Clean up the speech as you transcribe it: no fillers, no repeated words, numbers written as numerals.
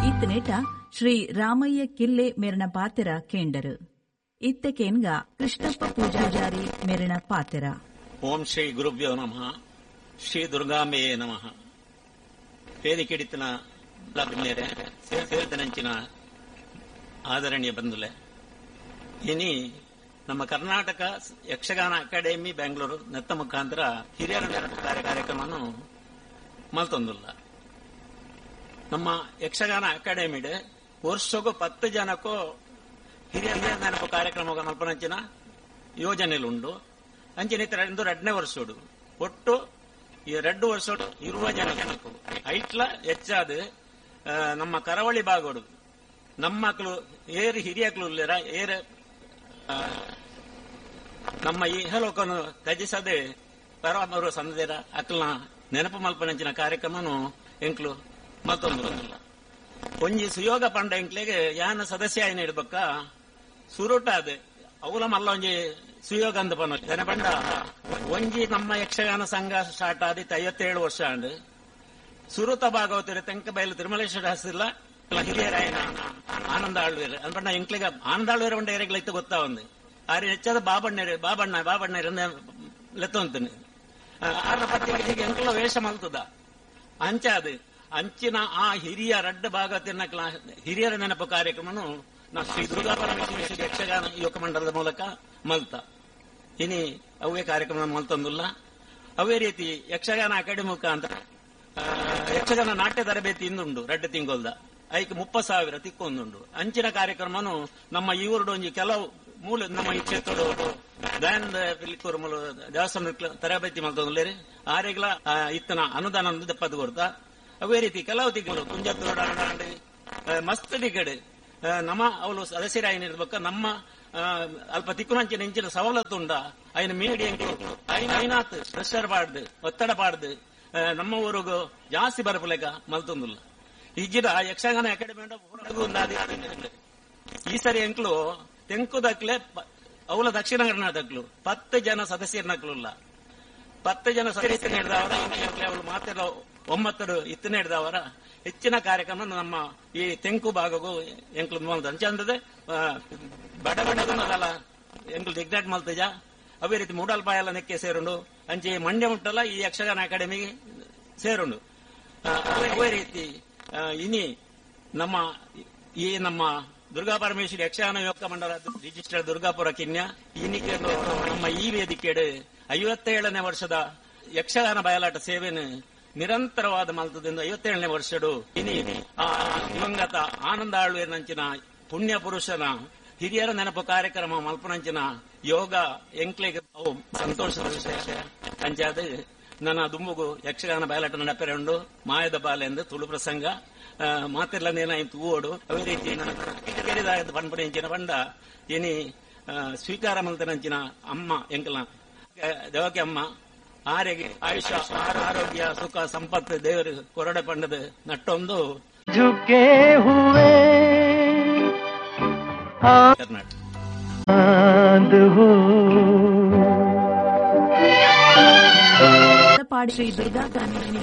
ಇತ್ತನೇಟ ಶ್ರೀ ರಾಮಯ್ಯ ಕಿಲ್ಲೆ ಮೇರಣ ಪಾತೆರ ಕೇಂಡರು. ಇತ್ತಕೇನ್ಗ ಕೃಷ್ಣಪ್ಪ ಪೂಜಾರಿ ಮೇರಣ ಪಾತೆರ. ಓಂ ಶ್ರೀ ಗುರುಭ್ಯೋ ನಮಃ. ಶ್ರೀ ದುರ್ಗಾಂಬೆಯೇ ನಮಃ. ವೇದಿಕೆಡಿತನ ಸೇರಿದನಂಚಿನ ಆದರಣೀಯ ಬಂಧುಲೆ, ಇನಿ ನಮ್ಮ ಕರ್ನಾಟಕ ಯಕ್ಷಗಾನ ಅಕಾಡೆಮಿ ಬೆಂಗಳೂರು ನೆತ್ತ ಮುಖಾಂತರ ಹಿರಿಯರ ಕಾರ್ಯಕ್ರಮವನ್ನು ಮಲ್ತೊಂದುಲ್ಲ. ನಮ್ಮ ಯಕ್ಷಗಾನ ಅಕಾಡೆಮಿಡ್ ವರ್ಷಗೂ 10 ಜನಕ್ಕೂ ಹಿರಿಯರ ನೆನಪು ಕಾರ್ಯಕ್ರಮ ಮಲ್ಪನಂಚಿನ ಯೋಜನೆಲುಂಡು. ಅಂಚಿನ ಎರಡನೇ ವರ್ಷೋಡು ಒಟ್ಟು ಈ 2 ವರ್ಷೋಡು ಇರುವ ಜನಕ್ಕೂ ಐಟ್ಲ ಹೆಚ್ಚಾದ ನಮ್ಮ ಕರಾವಳಿ ಭಾಗೋಡು ನಮ್ಮಕ್ಳು ಏರು ಹಿರಿಯಕ್ಲು ಇಲ್ಲರ ಏರು ನಮ್ಮ ಇಹಲೋಕನು ತ್ಯಜಿಸದೆ ಪರಮರು ಸಂದೇರ ಅಕ್ಲನ ನೆನಪು ಮಲ್ಪನಂಚಿನ ಕಾರ್ಯಕ್ರಮನು ಎಂಕ್ಲು ಮತ್ತೊಂದು ಒಂಜಿ ಸುಯೋಗ ಪಂಡ ಎಂಕ್ಲೆಗೆ ಯಾನ ಸದಸ್ಯ ಏನ ಇಡ್ಬೇಕ ಸುರುಟ ಅದೇ ಅವಲ ಮಲ್ಲ ಒಂಜಿ ಸುಯೋಗ ಅಂದ ಪನ ಪಂಡ ಒಂಜಿ ನಮ್ಮ ಯಕ್ಷಗಾನ ಸಂಘ ಸ್ಟಾರ್ಟ್ ಆದಿತ್ತು 57 ವರ್ಷ ಅಂಡ್ ಸುರುತ ಭಾಗವತರು ತೆಂಕಬೈಲು ತಿರುಮಲೇಶ್ವರ ಹಸಿಲ್ಲ ಹಿರಿಯರಾಯನ ಆನಂದ ಆಳ್ವೇರು ಅನ್ಪಂಡ ಎಂಕ್ಲಿಗ ಆನಂದ ಆಳ್ವೇರ ಉಂಡ ಏರೆಗ್ಲ ಇತ್ತು ಗೊತ್ತಾ ಒಂದು ಆರೆ ಹೆಚ್ಚಾದ ಬಾಬಣ್ಣರು ಬಾಬಣ್ಣ ಬಾಬಣ್ಣರು ಲೆತ್ತೊಂತಾನೆ ಆರ್ನ ಪತ್ರಿಕೆಗೆ ಎಂಕ್ಲ ವೇಷ ಮಲ್ತದ ಅಂಚಾದ ಅಂಚಿನ ಆ ಹಿರಿಯ ರಡ್ಡ ಭಾಗತಿನ ಹಿರಿಯರ ನೆನಪು ಕಾರ್ಯಕ್ರಮನು ನಾ ಶ್ರೀ ದುರ್ಗಾ ಪರಮೇಶ್ವರಿ ಯಕ್ಷಗಾನ ಯುವಕ ಮಂಡಲದ ಮೂಲಕ ಮಲ್ತ ಇನಿ ಅವೇ ಕಾರ್ಯಕ್ರಮ ಮಲ್ತೊಂದುಲ್ಲ. ಅವೇ ರೀತಿ ಯಕ್ಷಗಾನ ಅಕಾಡೆಮಿ ಮುಖಾಂತರ ಯಕ್ಷಗಾನ ನಾಟ್ಯ ತರಬೇತಿ ಇಂದುಂಡು ರಡ್ಡ ತಿಂಗೊಲ್ದ ಐಕ್ 30,000 ತಿಕ್ಕೊಂದುಂಡು. ಅಂಚಿನ ಕಾರ್ಯಕ್ರಮನು ನಮ್ಮ ಈ ಊರುಡು ಒಂಜಿ ಕೆಲವು ಮೂಲ ನಮ್ಮ ಈ ಕ್ಷೇತ್ರದ ದಯಾನಂದ ಪಿಲಿಕೂರು ದೇವಸ್ಥಾನ ತರಬೇತಿ ಮಲ್ತೊಂದುಲ್ಲೇರಿ ಆರೆಗ್ಲ ಇತ್ತನ ಅನುದಾನ ದಪ್ಪದು ಕೊಡ್ತಾ. ಅವೇ ರೀತಿ ಕೆಲವು ತಿಂಗಳು ಕುಂಜತ್ತೋಡ ಮಸ್ತ್ ದಿಗಡೆ ನಮ್ಮ ಅವಳು ಸದಸ್ಯರಾಯನಿರ್ಬೇಕ ನಮ್ಮ ಅಲ್ಪ ತಿಕ್ಕುನಂಚಿನ ಇಂಚಿನ ಸವಲತ್ತು ಉಂಡ ಐನ ಮೀಡಿ ಐನಾತ್ ಪ್ರೆಷರ್ ಪಾಡ್ದು ಒತ್ತಡ ಪಾಡ್ದು ನಮ್ಮ ಊರಿಗೂ ಜಾಸ್ತಿ ಬರಪುಲೆಕ ಮಲ್ತೊಂದುಲ್ಲ. ಈಜಿಡ ಯಕ್ಷಗಾನ ಅಕಾಡೆಮಿ ಈ ಸರಿ ಎಂಕ್ಲು ತೆಂಕುದಕ್ಲೆ ಅವಳ ದಕ್ಷಿಣ ಕರ್ನಾಟಕಲು 10 ಜನ ಸದಸ್ಯರನಕ್ಲುಲ್ಲ 10 ಜನ ಸದಸ್ಯರು ಹಿಡ್ದವರ ಅವಳು ಮಾತೆಲ್ಲ 9 ಇತ್ತನೇ ಹಿಡ್ದವರ ಹೆಚ್ಚಿನ ಕಾರ್ಯಕ್ರಮ ನಮ್ಮ ಈ ತೆಂಕು ಭಾಗಗೂ ಎಂಕ್ಲು ಮಲ್ತ ಅಂಚಂದದೆ ಬಡ ಬಡದಲ್ಲ ಎಂಕ್ಲು ದಿಗ್ನಾಟ್ ಮಲ್ತಜ. ಅವೇ ರೀತಿ ಮೂಡಲ್ಪಾಯಲ್ಲ ನೆಕ್ಕೆ ಸೇರುಂಡು ಅಂಚೆ ಮಂಡ್ಯ ಮುಟ್ಟಲ್ಲ ಈ ಯಕ್ಷಗಾನ ಅಕಾಡೆಮಿಗೆ ಸೇರುಂಡು. ಅವೇ ರೀತಿ ಇನಿ ನಮ್ಮ ಈ ನಮ್ಮ ದುರ್ಗಾ ಪರಮೇಶ್ವರಿ ಯಕ್ಷಗಾನ ಯುವಕ ಮಂಡಲ ರಿಜಿಸ್ಟರ್ ದುರ್ಗಾಪುರ ಕಿನ್ಯ ಇನ್ನಿಕೆ ನಮ್ಮ ಈ ವೇದಿಕೆಡು 57ನೇ ವರ್ಷದ ಯಕ್ಷಗಾನ ಬಯಲಾಟ ಸೇವೆಯನ್ನು ನಿರಂತರವಾದ ಮಲ್ತದಿಂದ 57ನೇ ವರ್ಷಡು ಇನಿ ಆ ದಿವಂಗತ ಆನಂದ ಆಳ್ವೇರ್ನಂಚಿನ ಪುಣ್ಯ ಪುರುಷನ ಹಿರಿಯರ ನೆನಪು ಕಾರ್ಯಕ್ರಮ ಮಲ್ಪನಂಚಿನ ಯೋಗ ಎಂಕ್ಲೆಗೆ ಸಂತೋಷದ ವಿಷಯ. ಅಂಚಾದ ನನ್ನ ದುಂಬುಗು ಯಕ್ಷಗಾನ ಬಯಲಾಟ ನಡಪೆರೆ ಉಂಡು ಮಾಯದ ಬಾಲೆ ಎಂದು ತುಳು ಪ್ರಸಂಗ ಮಾತಿರ್ಲ ನೇನಾಯ್ತು ಓಡು. ಅವೇ ರೀತಿ ಪನ್ಪುಣಿಂಚಿನ ಪಂಡ ಏನಿ ಸ್ವೀಕಾರ ಮಲ್ತನಂಚಿನ ಅಮ್ಮ ಎಂಕಲ್ನ ದೇವಕ್ಕೆ ಅಮ್ಮ ಆರೆಗೆ ಆಯುಷ್ಯ ಆರೋಗ್ಯ ಸುಖ ಸಂಪತ್ತು ದೇವರು ಕೊರಡೆ ಪಂಡದ ನಟ್ಟೊಂದು ಕರ್ನಾಟಕ. ಶ್ರೀ ದುರ್ಗಾ